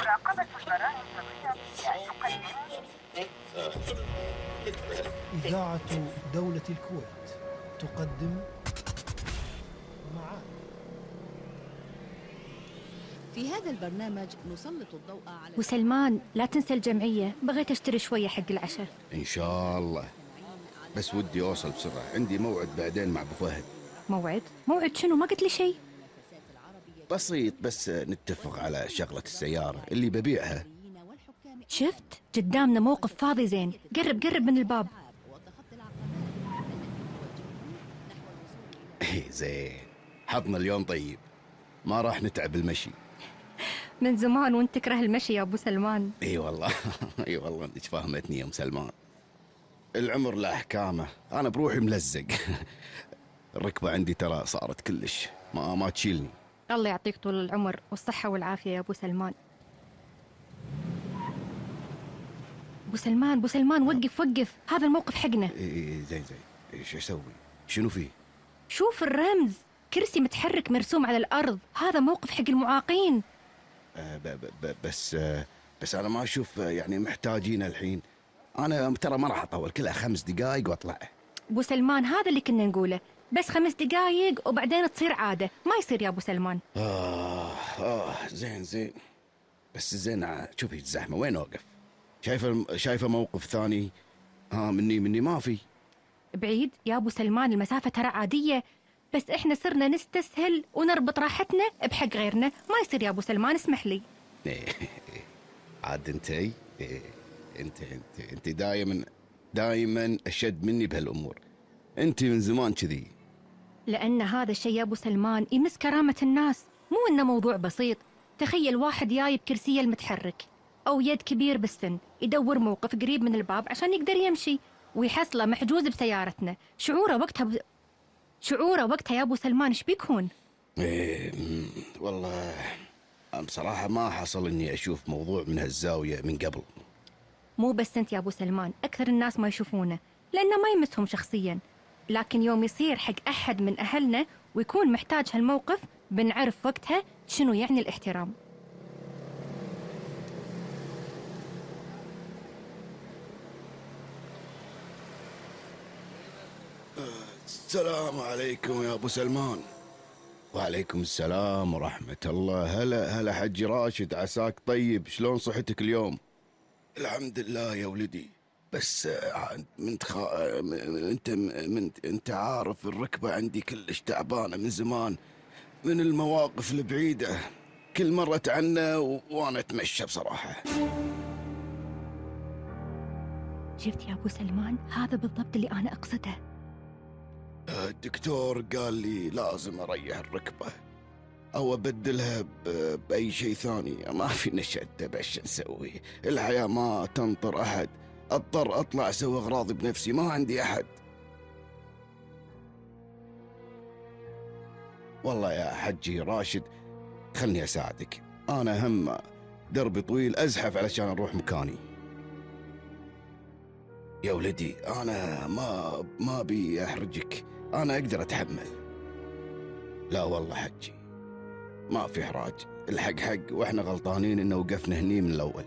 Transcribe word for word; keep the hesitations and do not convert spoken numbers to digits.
مراقبة الجرائم الرياضية تقدم إذاعة دولة الكويت تقدم معاد. في هذا البرنامج نسلط الضوء على وسلمان لا تنسى الجمعية، بغيت أشتري شوية حق العشاء. إن شاء الله، بس ودي أوصل بسرعة، عندي موعد بعدين مع أبو فهد. موعد؟ موعد شنو؟ ما قلت لي شيء. بسيط، بس نتفق على شغلة السيارة اللي ببيعها. شفت قدامنا موقف فاضي زين، قرب قرب من الباب. إيه زين، حظنا اليوم طيب، ما راح نتعب المشي. من زمان وانت تكره المشي يا أبو سلمان. اي والله اي والله انت فاهمتني يا ام سلمان. العمر له احكامه، انا بروحي ملزق. الركبه عندي ترى صارت كلش ما ما تشيلني. الله يعطيك طول العمر والصحه والعافيه يا ابو سلمان. ابو سلمان ابو سلمان وقف وقف، هذا الموقف حقنا. اي زين زين، ايش اسوي؟ شنو فيه؟ شوف الرمز، كرسي متحرك مرسوم على الارض، هذا موقف حق المعاقين. آه ب ب بس آه بس انا ما اشوف يعني محتاجين الحين. انا ترى ما راح اطول، كلها خمس دقائق واطلع. ابو سلمان هذا اللي كنا نقوله، بس خمس دقائق وبعدين تصير عاده، ما يصير يا ابو سلمان. اه اه زين زين، بس زين شوفي الزحمه وين اوقف؟ شايفه شايفه موقف ثاني؟ ها مني مني ما في. بعيد يا ابو سلمان، المسافه ترى عاديه، بس احنا صرنا نستسهل ونربط راحتنا بحق غيرنا، ما يصير يا ابو سلمان، اسمح لي. عاد انتي انت انت انت دايما دايما اشد مني بهالامور، انت من زمان كذي. لان هذا الشيء يا ابو سلمان يمس كرامه الناس، مو انه موضوع بسيط. تخيل واحد جاي بكرسيه المتحرك او يد كبير بالسن يدور موقف قريب من الباب عشان يقدر يمشي، ويحصله محجوز بسيارتنا، شعوره وقتها ب... شعوره وقتها يا ابو سلمان ايش بيكون؟ ايه والله بصراحه ما حصل اني اشوف موضوع من هالزاويه من قبل. مو بس انت يا ابو سلمان، اكثر الناس ما يشوفونه لانه ما يمسهم شخصيا، لكن يوم يصير حق احد من اهلنا ويكون محتاج هالموقف بنعرف وقتها شنو يعني الاحترام. السلام عليكم يا ابو سلمان. وعليكم السلام ورحمة الله. هلا هلا حجي راشد، عساك طيب؟ شلون صحتك اليوم؟ الحمد لله يا ولدي، بس من خا... انت من... انت عارف الركبة عندي كلش تعبانة من زمان، من المواقف البعيدة، كل مرة عنه و... وانا اتمشى بصراحة. شفت يا ابو سلمان، هذا بالضبط اللي انا اقصده. الدكتور قال لي لازم اريح الركبة او ابدلها باي شيء ثاني، ما في نشأت بش نسوي، الحياة ما تنطر احد، اضطر اطلع اسوي اغراضي بنفسي، ما عندي احد. والله يا حجي راشد خلني اساعدك، انا هم دربي طويل ازحف علشان اروح مكاني. يا ولدي انا ما ما بي احرجك، انا اقدر اتحمل. لا والله حجي ما في احراج، الحق حق، واحنا غلطانين انه وقفنا هني من الاول.